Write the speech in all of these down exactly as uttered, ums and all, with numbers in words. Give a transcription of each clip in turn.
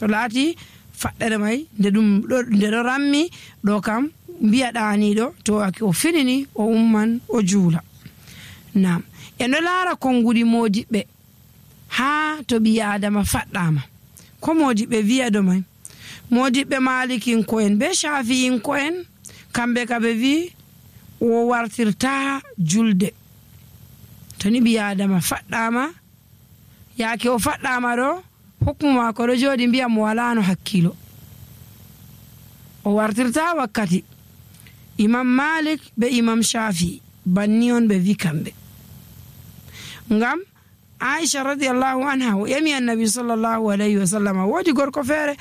to laati faɗɗere may nde ɗum nde ɗo rammi ɗo kam mbiya ɗaaniɗo to aki o finini o umman o juula. Nam en ɗo laara konngudi moodiɓɓe haa to ɓi adama faɗɗama ko moodiɓɓe wiya ɗo may. Moodiɓɓe malikinko'en be shafi'inko'en kamɓe ka ɓe wi o wartirta julde to ni ɓi adama faɗɗama yaake o faɗɗama ɗo hukmu maako ɗo jooɗi mbiya mo walano hakkilo o wartirta wakkati. Imam Malik be Imam Shafi banni on ɓe wi kamɓe ngam Aisha radiyallahu anha o ƴami annabi sallallahu alayhi wa sallam woodi gorko feere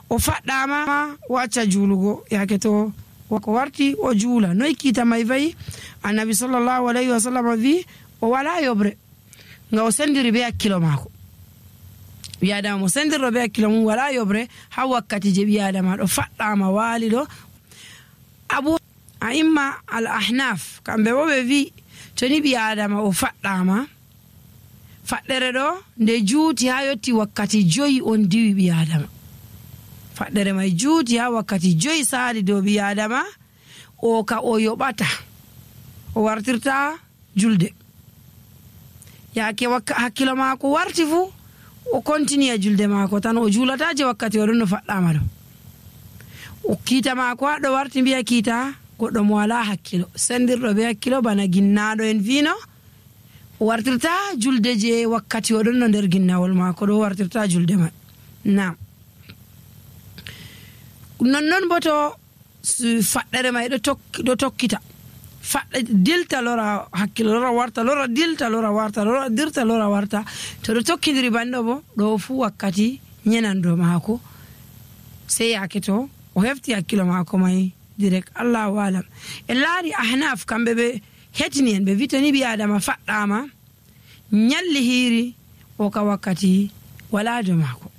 o faɗɗama o acca juulugo yaake to ko warti o juula noy kiita may fayi. Annabi sallallahu alayhi wa sallam wi o wala yobre nga o sendiri be hakkilo maako. ɓi adama mo sendirɗo be hakkilo mum wala yobre ha wakkati je ɓi adama ɗo faɗɗama waali ɗo. Abu A'imma al ahnaf kamɓe bo ɓe wi to ni ɓi adama o faɗɗama faɗɗere ɗo nde juuti ha yotti wakkati joyi on diwi ɓi adama. Faɗɗere may juuti ha wakkati joyi saali dow ɓi adama o ka o yoɓata o wartirta julde yaake hakkilo maako warti fuu o continue a julde maako tan o juulata je wakkati o ɗon no faɗɗama ɗo. O kiita maako haɗo warti mbiya kiita goɗɗo mo wala hakkilo sendirɗo be hakkilo bana ginnaɗo en vino o wartirta julde je wakkati o ɗon no nder ginnawol maako ɗo wartirta julde man. Nam nonnon bo to faɗɗere may ɗo tokkita faɗɗe dilta lora hakkilo lora warta lora dilta lora warta lora dirta lora warta to ɗo tokkidiri banɗo bo ɗo fuu wakkati ñenando maako sey yaake to o hefti hakkilo maako may direct. Allahu alam. En laari ahnaf kamɓe ɓe hetini en ɓe wi to ni ɓi adama faɗɗama ñalli hiiri o ka wakkati wala do maako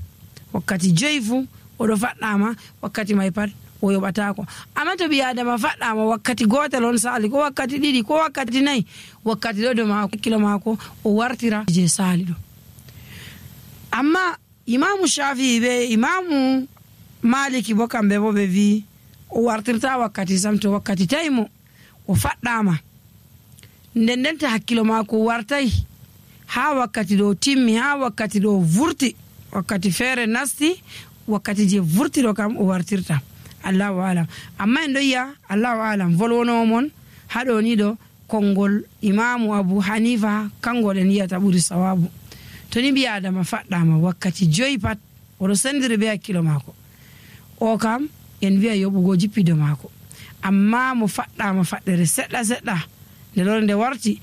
wakkati joyi fuu oɗo faɗɗama wakkati may pat o yoɓatako. Amma to ɓi adama faɗɗama wakkati gotel on saali ko wakkati ɗiɗi ko wakkati nayyi wakkati ɗo do maako hakkilo maako o wartira je saali ɗo. Amma imamu Shafi'i be imamu Maliki bo kamɓe bo ɓe wi o wartirta wakkati sam to wakkati tawi mo o faɗɗama nden ndenta hakkilo maako wartay ha wakkati ɗo timmi ha wakkati ɗo vurti wakkati feere nasti wakkati je vurti ɗo kam o wartirta. Allahu alam. Amma en ɗo yiya Allahu alam volwonowo mon haɗo ni ɗo konngol imamu Abu Hanifa kangol en yiyata ɓuri sawabu. To ni ɓi adama faɗɗama wakkati joyi pat oɗo sendiri be hakkilo maako o kam en wiya yoɓugo jippido maako. Amma mo faɗɗama faɗɗere seɗɗa seɗɗa nde lore nde warti